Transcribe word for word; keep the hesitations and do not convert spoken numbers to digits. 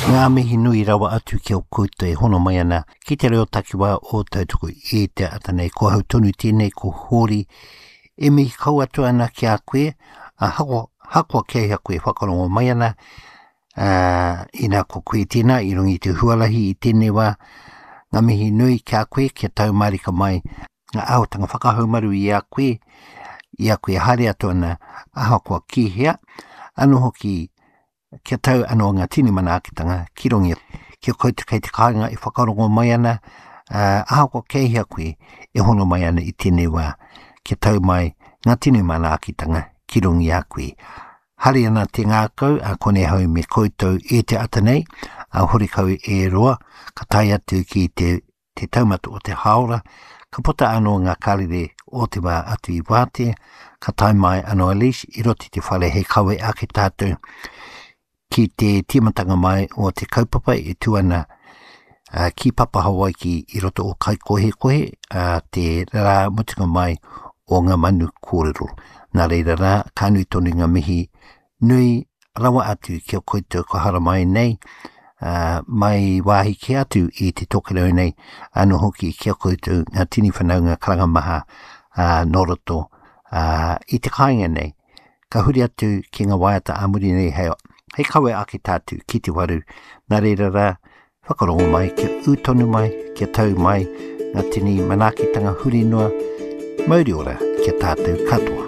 Ngā mihi nui rawa atu ki a koutou e hono mai ana ki te reo takiwā o Tautoko i te ata nei. Ko hau tonu tēnei, ko Hōri e mihi kau atu ana ki a koe, a hako, hakoa kei hea koe whakarongo mai ana, uh, ina ko koe tēnā i runga i te huarahi i tēnei wā, ngā mihi nui ki a koe, kia tau marika mai ngā āhuatanga whakahaumaru i a koe, i a koe haere atu ana, ahakoa ki hea, anō hoki kia tau anō ngā tini manaakitanga ki runga ki a koutou kei te kāinga e whakarongo mai ana, uh, ahakoa kei hea koe e hono mai ana i tēnei wā, kia tau mai ngā tini manaakitanga ki runga i a koe. Hari ana te ngākau, a kone hau me koutou e te ata nei, a horikau e roa, ka tae atu ki te, te taumata o te haora, ka puta anō ngā karere o te wā atu i wātea, ka tae mai anō a Leash i roto i te whare hei kawe ake tātou ki te tīmatanga mai o te kaupapa e tū ana uh, ki Papa Hawaiki i roto o Kaikohekohe, uh, te rā mutunga mai o ngā manu kōrero. Nā reira rā, ka nui tonu ngā mihi nui rawa atu ki a koutou ko haramai nei, uh, mai wāhi ki atu i te tokerau nei, anō hoki ki a koutou ngā tini whanaunga karanga maha uh, nō roto uh, i te kāinga nei. Ka huri atu ki ngā waiata ā muri nei hei, hei kawe ake tātou ki te waru. Nā reira rā, whakarongo mai, kia ū tonu mai, kia tau mai ngā tini manaakitanga huri noa, mauri ora ki a tātou katoa.